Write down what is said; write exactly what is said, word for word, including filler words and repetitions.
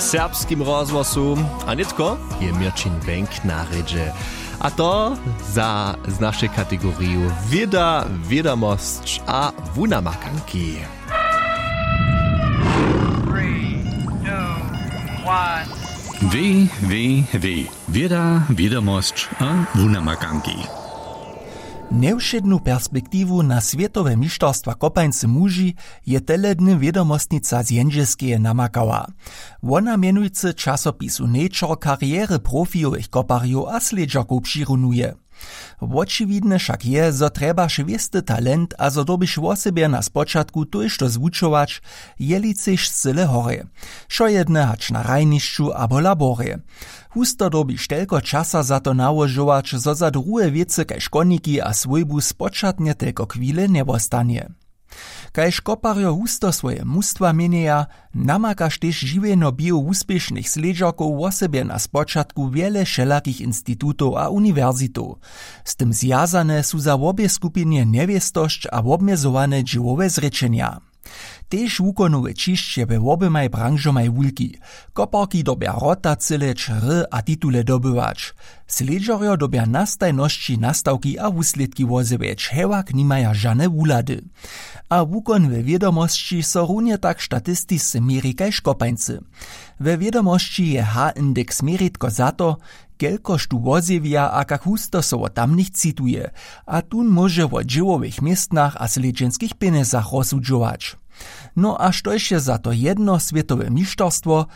Serbskim rozhłosu. A nětko je Měrćin Bank na rědźe, a to za z našej kategoriju wěda, wědomosć a wunamakanki. Www wěda, wědomosć a wunamakanki. Njewšědnu perspektiwu na swětowe mišterstwa kopańcy muži je tele dny wědomostnica z jendźelskeje namakała. Wona mjenujcy časopisu Nature karjery profijowych koparjow a slědźerkow přirunuje. Wočiwidne wšak je, zo trjebaš wěsty talent a zo dyrbiš wosebje na spočatku tójšto zwučować, jeli chceš z cyle horje, wšojedne hač na hrajnišću abo laborje. Husto dyrbiš telko časa za to nałožować, zo za druhe wěcy kaž koniki a swójbu spočatnje telko chwile njewostanje. Kaž koparjo husto swoje mustwa měnjeja, namakaš tež žiwjenjo běhu wuspěšnych slědźerkow wosebje na spočatku wjele wšelakich institutow a uniwersitow. Z tym zwjazane su za wobě skupinje njewěstosć a wobmjezowane dźěłowe zrěčenja. Tež wukonowy ćišće we woběmaj branžomaj wulki. Koparki dyrbja wrota cyleć, hry a titule dobywać. Slědźerjo dyrbja na stajnosći nastawki a wuslědki wozjewjeć, hewak nimaja žane wuhlady. A wukon we wědomosći so runje tak statistisce měri kaž kopańcy. We wědomosći je h-indeks měritko za to, kelkož tu wozjewja a kak husto so wot tamnych cituje. A tón móže wo dźěłowych městnach a slědźenskich pjenjezach rozsudźować. No a štož je za to jedno swětowe mišterstwo,